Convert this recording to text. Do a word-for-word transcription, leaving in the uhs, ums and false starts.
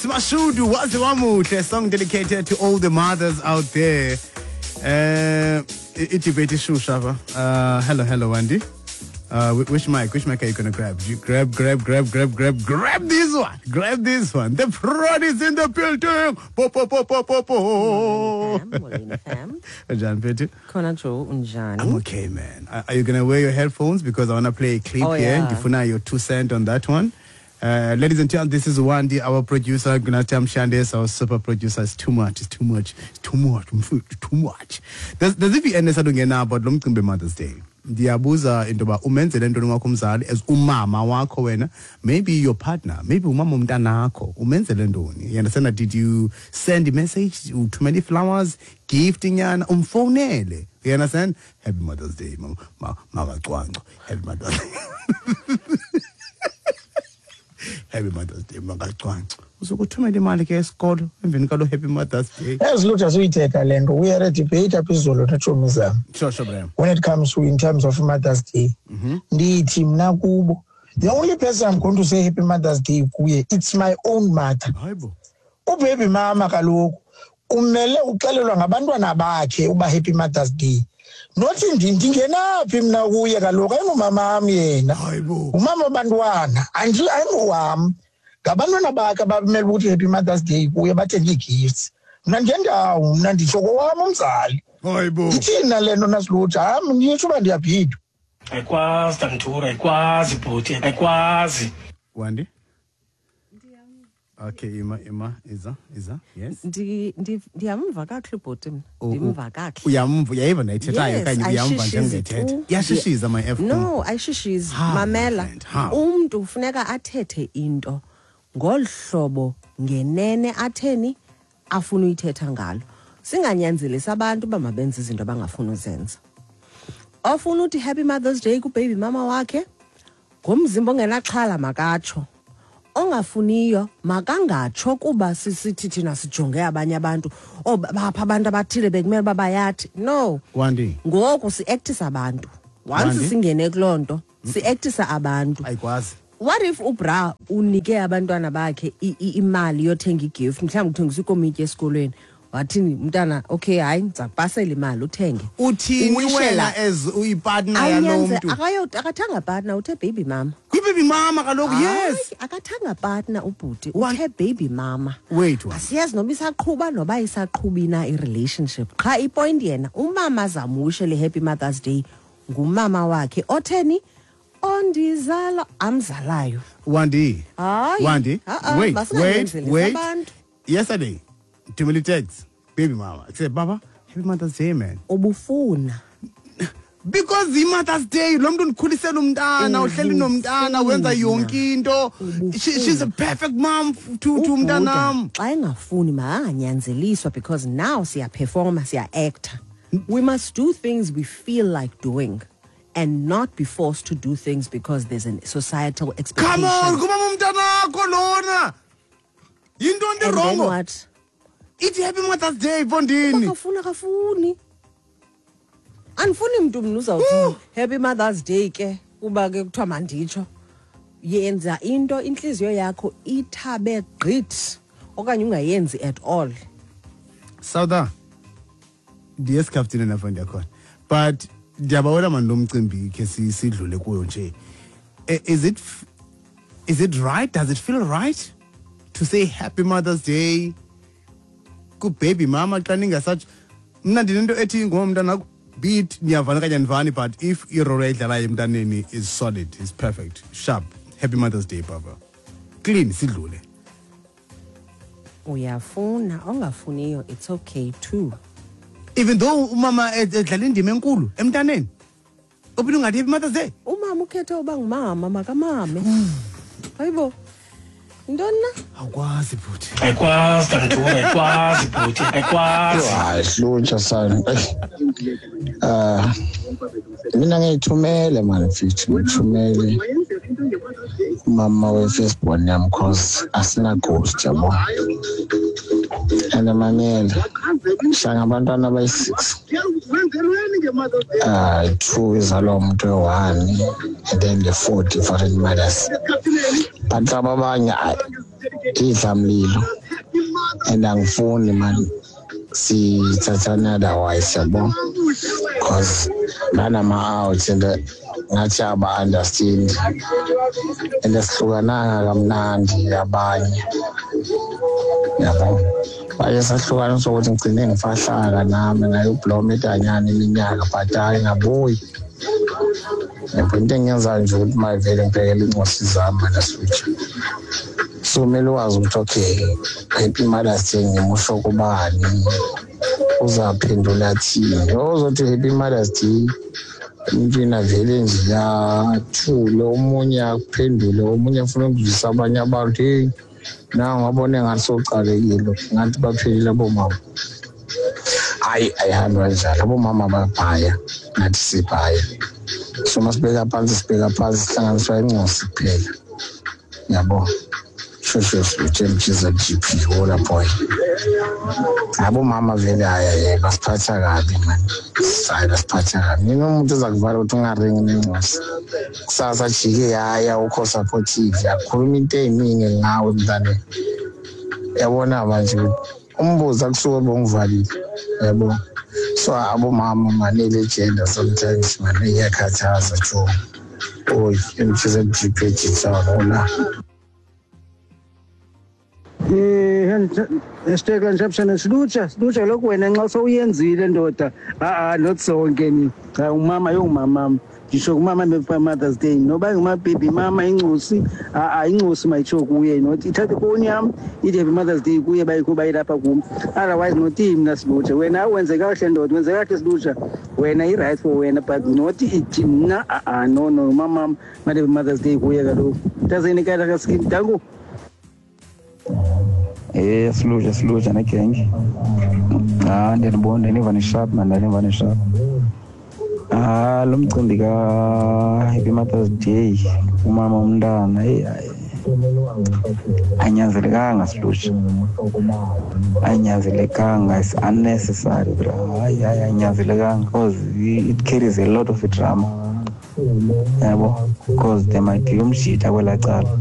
Mashudu, Waze Wamuhle, a song dedicated to all the mothers out there. Uh, i-debate ishusha apha. Uh, hello, hello, Wendy. Uh, wh- which mic? Which mic are you gonna grab? You grab, grab, grab, grab, grab, grab this one. Grab this one. The fraud is in the building. Po po po po po po. Fam, molweni fam. Njani mfethu? Khona Joe, unjani? I'm okay, man. Are, are you gonna wear your headphones? Because I wanna play a clip Oh, here. yeah. Ndifuna your two cent on that one. Uh, ladies and gentlemen, this is Wandi, our producer, Gunatam Shandes, our super producer. It's too much, it's too much, it's too much, it's too much. There's there's i-V N esadungena about lo mcimbi Mother's Day. Ndiyabuza into yoba umenzele ntoni wakho umzali as umama wakho wena, maybe your partner, maybe umama umntanakho, umenzele ntoni? You understand that? Did you send a message, uthumele flowers, gift nyana, umfonele? You understand? Happy Mother's Day, mama, makacwangco. Happy Mother's Day. Happy Mother's Day, makacwangco. Uzokuthumela imali ke esikolo emveni kalo Happy Mother's Day. Ezilutha suyithetha le nto. We had a debate apha izolo netshomi zam Sure, sure, Bram. when it comes to in terms of Mother's Day. Ndithi mna kubo, the only person I'm going to say Happy Mother's Day kuye, it's my own mother. Hayibo. Ubaby mama kaloku umele uxelelwa ngabantwana bakhe uba Happy Mother's Day, nothi ndi ndingenaphi mna kuye kaloku, ayingumama am yena. Hayibo. Umama wabantwana, andi ayingowam, ngabantwana bakhe abamele ukuthi Happy Mother's Day kuye, bathenge ii-gifts. Mna ngendawo, mna nditsho kowam umzali. Hayibo. Ithini na le nto nasilutsha? Ham nditsho uba ndiyabhidwa. Ayikwazi, Tantura, ayikwazi bhuti, ayikwazi. Wandi? Okay, ima ima iza iza. Yes. Ndi ndi ndiyamva kakuhle ubhuti mna. U- u- Ndimva kakuhle. Uyamva, uyayiva nayithethayo Yes, okanye uyamva ayishishizi njengethetha? tu. Iyashishiza my F. No, ayishishizi. How, my Mamela. friend, how? Umntu ufuneka athethe into ngolu hlobo ngenene atheni afuna uyithetha ngalo. Singanyanzelisi abantu uba mabenze izinto abangafuni uzenza. Ofuna uthi Happy Mother's Day kubaby mama wakhe ngomzimba ongenaxhala makatsho. Ongafuniyo makangatsho, kuba sisithi thina sijonge abanye abantu, oh, bapha abantu abathile bekumele uba bayathi no. Wandi. Ngoku si-actisa abantu once Wandi? singene kuloo nto, si-actisa abantu. Ayikwazi. What if ubra unike abantwana bakhe i- i- imali yothenga igift, mhlawumbi kuthengiswa ikomityi esikolweni, wathini umntana, okay, hayi, ndiza kupasela imali uthenge. Uthini Uwishela- wena as uyipartner yalo Awunyanze- mntu? akayo- akathanga partner, uthe baby mama. Kwi-baby mama kaloku, yes. Hayi, akathanga partner ubhuti, One- uthe baby mama. Wait, one. Asiyazi noba isaqhuba noba isaqhubi na i-relationship, qha ipoint yena umama azamwishele Happy Mother's Day ngumama wakhe otheni, ondizala, amzalayo. Wandi. Hayi. Wandi. Ah-ah, Wait, wait, masinganyanzelisi wait. abantu. Yesterday, Tumili text, baby mama. I said, "Baba, Happy Mother's Day, man." Ubufuna. Because i-Mother's Day, lo mntu ndikhulisela umntana, uhleli nomntana, wenza yonke into. She, she's a perfect mom to, to Ubhuda, umntanam. Xa engafuni makanganyanzeliswa, because now siyaperforma, siya-acta. We must do things we feel like doing and not be forced to do things because there's a societal expectation. Come on, kumama umntanakho lona. Yinto And then ndirongo. what? Ithi Happy Mother's Day, mfondini. Akafuni, akafuni, andifuni mntu mna uzawuthi Happy Mother's Day ke kuba ke kuthiwa manditsho. Yenza into intliziyo yakho ithabe gqithi okanye ungayenzi at all. Sauda. Ndiye esikhafutini napho ndiyakhona. But ndiyabawela mani lo mcimbi khe si- sidlule kuyo nje. Eh, Is it f- is it right? Does it feel right to say Happy Mother's Day ku baby mama xa ningasatsho? Mna ndinento ethi ngomntana, be it niyavana okanye anivani, but if irole ayidlalayo emntaneni is solid, is perfect, sharp, Happy Mother's Day, baba. Clean, sidlule. Uyafuna, ongafuniyo, it's okay too. Even though umama ed- edlala indima enkulu emntaneni, uphinde ungathi Happy Mother's Day. Umama ukhethe uba ngumama, makamame. Hayibo, yintoni na? Awukwazi, bhuti. Ayikwazi, Tantura, ayikwazi bhuti, ayikwazi. Hayi, hlutsha sana. Ah, mina ngiyithumele mani mfethu, ngithumele umama we-firstborn yami, cause asina-ghost yabo. And mamela, shanga abantwana abayi-six, uh, two izalwa umuntu oyi-one and then the four different mothers, but laba abanye, hayi. Idlamlilo and angifuni man sithathana otherwise yabo, because banama-out and ngathi aba-understand and sihlukananga kamnandi abanye yabo. Baye sahlukana sokuthi ngigcine ngifahlaka nami ngayobloma edanyana iminyaka but hayi ngabuyi. Yabo into engiyenzayo nje ukuthi mayivele ngibhekele incosi zami mina switch. So kumele wazi ukuthi okay, Happy Mother's Day ngimusho kubani, uzaphendula thini. Ozothi Happy Mother's Day emntwini avele nje athule, omunye akuphendule, omunye afuna ukuzwisa abanye abantu, hey nangu wabone ngathi sowucalekile, ngathi baphelile abomama. Hayi ayihambi kanjalo, abomama bayabhaya, ngathi sibhaya. So masibheka phansi sibheka phansi sihlanganiswa incosi kuphela yabo. Shosho switch G P hola boy. Abomama vele hayi basiphatha kabi man, hayi basiphatha kabi. Mina umuntu ozakuvala ukuthi ungaringi nencosi kusasa jike hhayi awukho supportive, akhuluma into ey'ningi ngawe mntane. Yabona manje umbuzo akusuke bongivalile yabo. So abomama manele gender sometimes man iyakhathaza jo. Oy M G Z G P hola. Eh hashtag lanjabshana silutsha silutsha lokhu wena nxa sowuyenzile ndoda. A a not sonke ni cha umama yongumama ngisho kumama be Mother's Day noba nguma baby mama incosi a a incosi mayitsho kuye not ithathe ifoni yami ithi Happy Mother's Day kuye bayikho bayilapha kum, otherwise not mina silutsha. Wena wenze kahle ndoda, wenze kahle silutsha, wena i right for wena but not ithi mna a a no no mama Happy Mother's Day kuye kaloku tazeni kala kaskin dango. Eh silutsha silutsha negenge. Ah ndiyabona ndiniva nisharp man, ndiniva nisharp. Ah lo mcimbi ka Happy Mother's Day umama umntana hey hayi anyanzelekanga silutsha, anyanzelekanga, it's unnecessary bro. Hayi hayi anyanzelekanga because it carries a lot of drama yabo, because there might be umshita kwelaa cala.